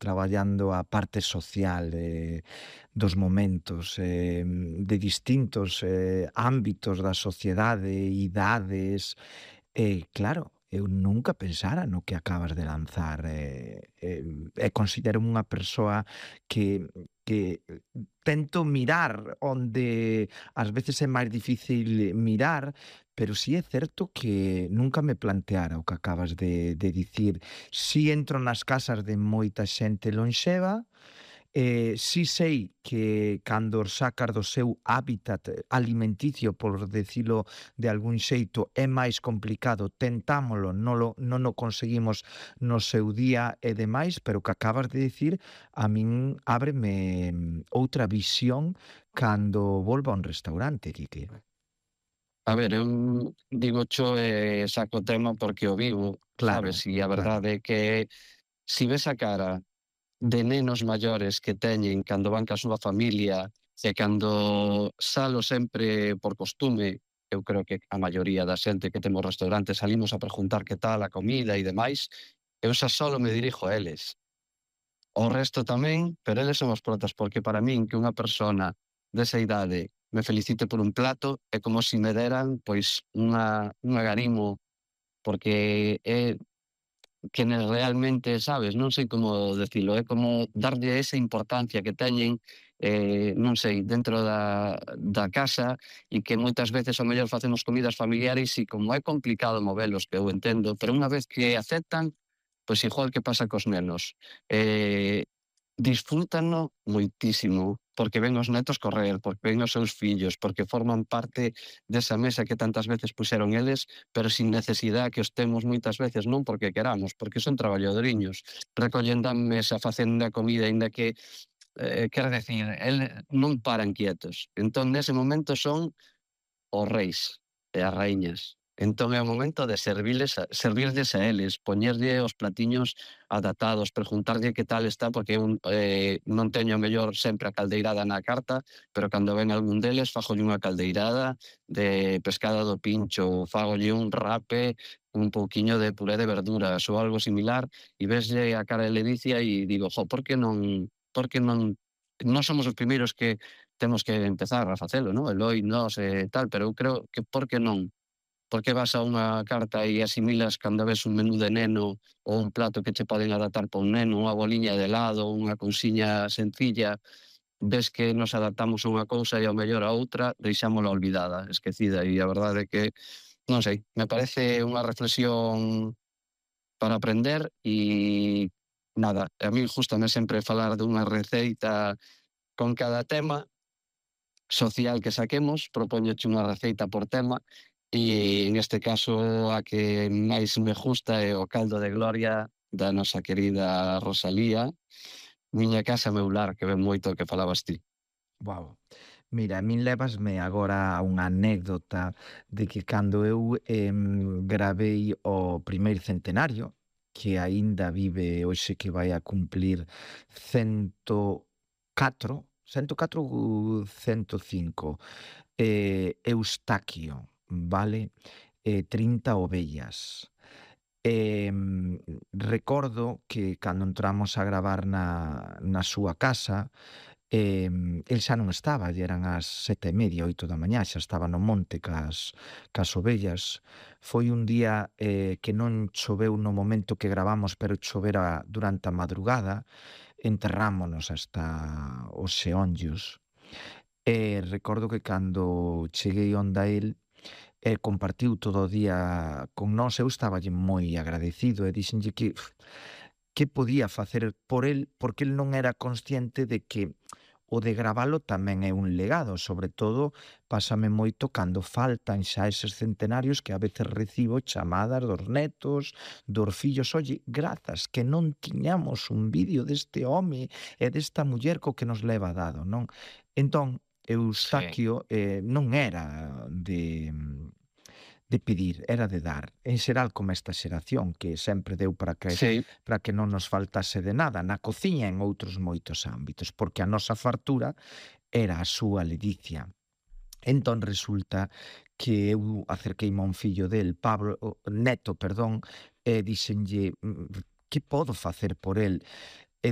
traballando a parte social dos momentos de distintos ámbitos da sociedade, idades, claro, eu nunca pensara no que acabas de lanzar e considero unha persoa que tento mirar onde ás veces é máis difícil mirar, pero sí é certo que nunca me planteara o que acabas de dicir. Si entro nas casas de moita xente lonxeva, si sei que cando os sacas do seu hábitat alimenticio, por decilo de algún xeito, é máis complicado, tentámolo, non o conseguimos no seu día e demais, pero o que acabas de dicir a min ábreme outra visión cando volvo a un restaurante, Quique. A ver, eu digocho e saco o tema porque o vivo, sabes? Claro, E a claro. verdade é que si ves a cara de nenos maiores que teñen cando van ca súa familia e cando salo sempre por costume, eu creo que a maioría da xente que temos restaurantes salimos a preguntar que tal a comida e demais, eu xa solo me dirijo a eles. O resto tamén, pero eles son os protas, porque para min que unha persona desa idade me felicite por un plato é como se me deran pois un agarimo, porque é que realmente, sabes, non sei como decilo, é como darlle esa importancia que teñen, non sei, dentro da casa e que moitas veces ao mellor facemos comidas familiares e como é complicado movelos, que eu entendo, pero unha vez que aceptan, pois igual que pasa cos nenos, disfrútano moitísimo, porque ven os netos correr, porque ven os seus fillos, porque forman parte desa mesa que tantas veces puxeron eles, pero sin necesidade que os temos moitas veces, non porque queramos, porque son traballadoriños, recollendo a mesa, facendo a comida, aínda que, quero decir, non paran quietos. Entón, nese momento son os reis e as raíñas. Entón é o momento de servirlles a eles, poñerlle os platiños adaptados, preguntarlle que tal está, porque eu non teño mellor sempre a caldeirada na carta, pero cando ven algún deles fagolle unha caldeirada de pescada do pincho, fagolle un rape, un pouquiño de puré de verduras ou algo similar, e veslle a cara de ledicia e digo, por que non nós somos os primeiros que temos que empezar a facelo, non? Eloi, nós e tal, pero eu creo que por que non? Por que vas a unha carta e asimilas cando ves un menú de neno ou un plato que che poden adaptar para un neno, unha boliña de helado, unha cousiña sencilla, ves que nos adaptamos a unha cousa e ao mellor a outra deixámola olvidada, esquecida, e a verdade é que, non sei, me parece unha reflexión para aprender e nada, a mí gústame sempre falar dunha receita con cada tema social que saquemos, propóñoche unha receita por tema e neste caso a que máis me gusta é o caldo de gloria da nosa querida Rosalía, Miña casa meu lar, que ven moito o que falabas ti. Guau. Mira, a min lévasme agora a unha anécdota de que cando eu gravei o primeiro centenario, que aínda vive hoxe que vai a cumplir 104 ou 105, Eustaquio, vale? 30 ovellas. Recordo que cando entramos a gravar na súa casa, el xa non estaba, lle eran as 7:30, 8 da mañá, xa estaba no monte cas ovellas. Foi un día que non choveu no momento que gravamos, pero chovera durante a madrugada, enterrámonos hasta os xeonllos. E recordo que cando cheguei onda el, compartiu todo o día con nós, eu estaballe moi agradecido e dixenlle que podía facer por el, porque el non era consciente de que o de gravalo tamén é un legado, sobre todo pásame moito cando faltan xa eses centenarios que a veces recibo chamadas dos netos, dos fillos, oye, grazas, que non tiñamos un vídeo deste home e desta muller co que nos leva dado, non? Entón, Sí. Eustaquio non era de pedir, era de dar. En xeral como esta xeración que sempre deu Sí, para que non nos faltase de nada, na cociña e en outros moitos ámbitos, porque a nosa fartura era a súa ledicia. Entón resulta que eu acerqueime a un fillo del, Pablo, neto, perdón, e dixenlle, que podo facer por el?